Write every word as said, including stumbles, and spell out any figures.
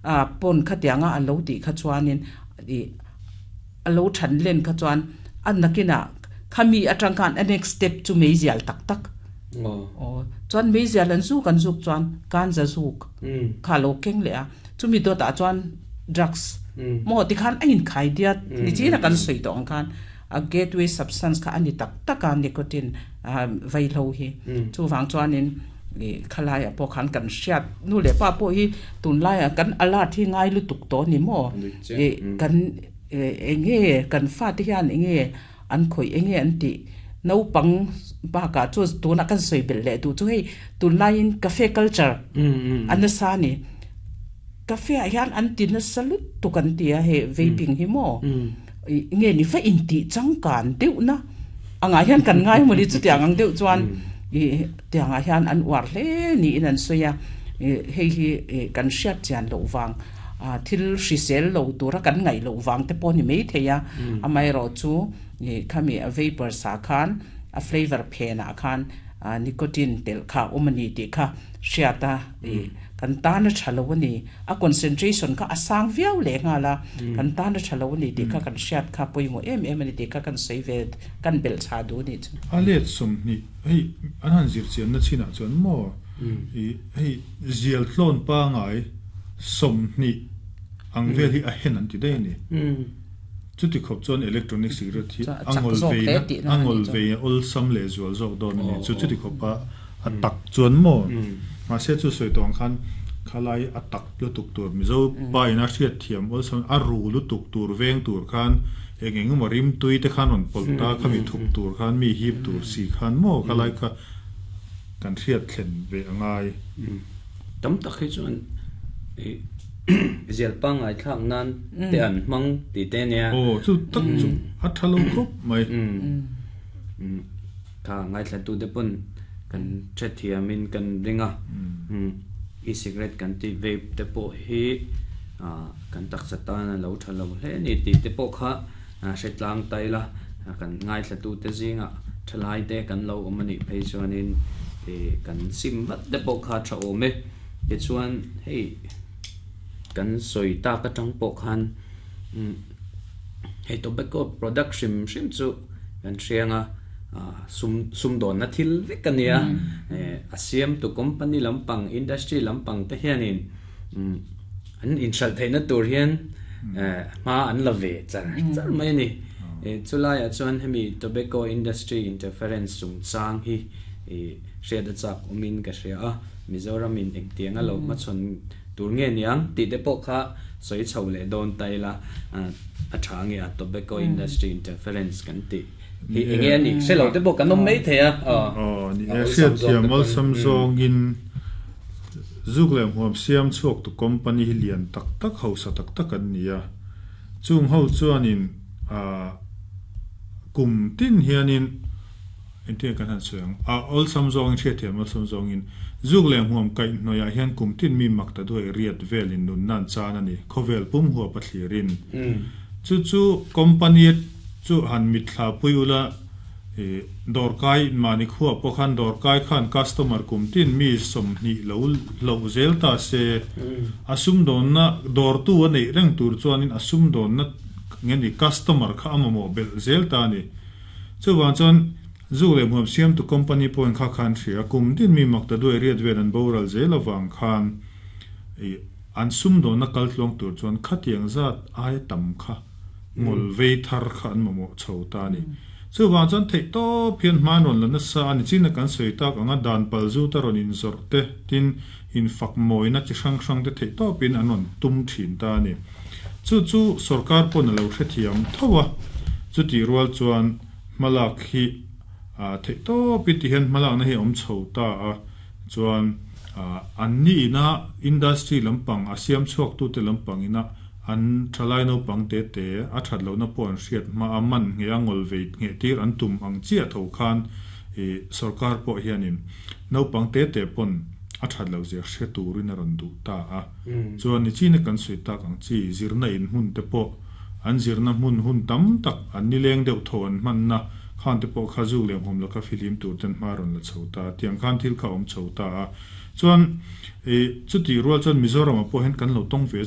A pon kha tianga a lo ti kha chuanin i a lo than len kha chuan an nakina khami atang khan a next step chu meizial tak tak. Oh, chuan meizial an zu kan zuk chuan kan za zuk kha lo keng le a chumi do ta chuan drugs mo ti khan a in khai diat ni chi na kan soi tong khan a gateway substance kha ani tak taka nicotine vai lo hi chu wang chuanin khalai a po khan kan hriat nu le pa po hi tun lai a kan alert hi ngai lu tuk to ni mo e kan enge kan fa ti hian enge an khoi enge an ti no pang ba ka chu tuna kan soi bel le tu chu hei tun lai in cafe culture an sa ni cafe a hian an ti na salut tu kan ti a he vaping hi mo nge ni fa in ti changkan deuh na anga hian kan ngai mo ni chu tiang ang deuh chuan i tianga hian an war hle ni in an soya hei hi kan hriat chian lo wang a thil hrisel lo tura kan ngai lo wang te pawh ni mai theia amai ro chu khami a vapor sa khan a flavor phena khan nicotine tel kha umani ti kha hriata kan ta na thalo ani a concentration kha asang viau le nga la kan ta na thalo ani ti kha kan hriat kha poimo em em ani ti kha kan save kan bel cha du ni chu a let som ni hei an han zir chian na china chuan mo i hei zial thlon pa ngai som ni ang vel hi a hen an ti dei ni chu ti khop chuan electronic cigarette hi angol ve angol ve ol sam le zual zawk don ni chu chu ti khop pa a tak chuan mo ma se chu soi tong khan khalai a tak lu tuk tur mizo pa ina hriat thiam ol sam a ru lu tuk tur veng tur khan eng eng mo rim tui te khan on polta khami thup tur khan mi hip tur si khan mo khalai kha kan hriat thlen ve angai tam tak hi chuan zial pa ngai thlak nan te an mang ti te nia oh chu tak chu a thalo khop mai kha ngai thla tu te pon kan chat thiamin kan ringa e-cigarette kan ti vape te pawh hi kan taksa tan a lo thalo hle ni ti te pawh kha hretlang tai la kan ngai thla tu te zinga thalai te kan lo awm ani phei chuanin kan sim vat te pawh kha tha awm e ti chuan hei kan soi ta ka tang pawh khan hei tobacco product hrim hrim chu kan hrianga sum sum don na thil vek ania a siam tu company lampang industry lampang te hianin an in hral theina tur hian ma an la ve char char mai ni chulai a chuan hemi tobacco industry interference chung chang hi hriat a chak umin ka hria a Mizoram in engtiang a lo ma chon tur nge niang ti te pawh kha soi chho le don tai la a tha nge a tobacco industry interference kan ti hi enge ani se lo te pawh kan awm mai thei a oh ni e hriat thiam ol sam zawngin zuk lem huam siam chhuak tu company hi lian tak tak hausa tak tak an nia chung ho chuanin a kum tin hianin entia kan han suang a ol sam zawngin hriat thiam ol sam zawngin zuk lem huam kai hnoia hian kum tin mi mak ta duai riat velin nun nan chan ani khovel pum huwa pathlirin chu chu company chu han mithla puiula e dorkai mani khuwa pokhan dorkai khan customer kum tin mi som ni lo lo zel ta se asum don na dor tu ani reng tur chuanin asum don na ngeni customer kha amamo bel zel ta ni chu wan chuan zu le muam siam tu company point kha khan thria kum tin mi mak ta duai riat vel an boral zel awang khan e an sum don na kal tlong tur chuan khatiang zat ai tam kha ngol ve thar kha an mamo chho ta ni chu wang chuan thei to phian hmanon la na sa ani china kan soi tak anga dan pal zu taron in zor te tin in fak moina chi hrang hrang te thei to pin anon tum thin ta ni chu chu sarkar pon lo hre thiam thowa chu ti rual chuan malak hi a thei to pin ti hian malak na hi om chho ta a chuan an ni ina industry lampang a siam chuak tu te lampang ina an thalai no pang te te a that lo na pon hriat ma aman nge angol ve nge tir an tum ang chia tho khan e sarkar po hianin no pang te te pon a that lo zia hre turin a ron du ta a chuan ni china kan sui tak ang chi zirna in hun te po an zirna hun hun tam tak an ni leng deuh tho an man na khan te po khazu lem hom la ka filim tur ten ma ron la chho ta tiang khan thil kha om chho ta a chuan e chuti rual chuan Mizoram a pawh hian kan lo tawng ve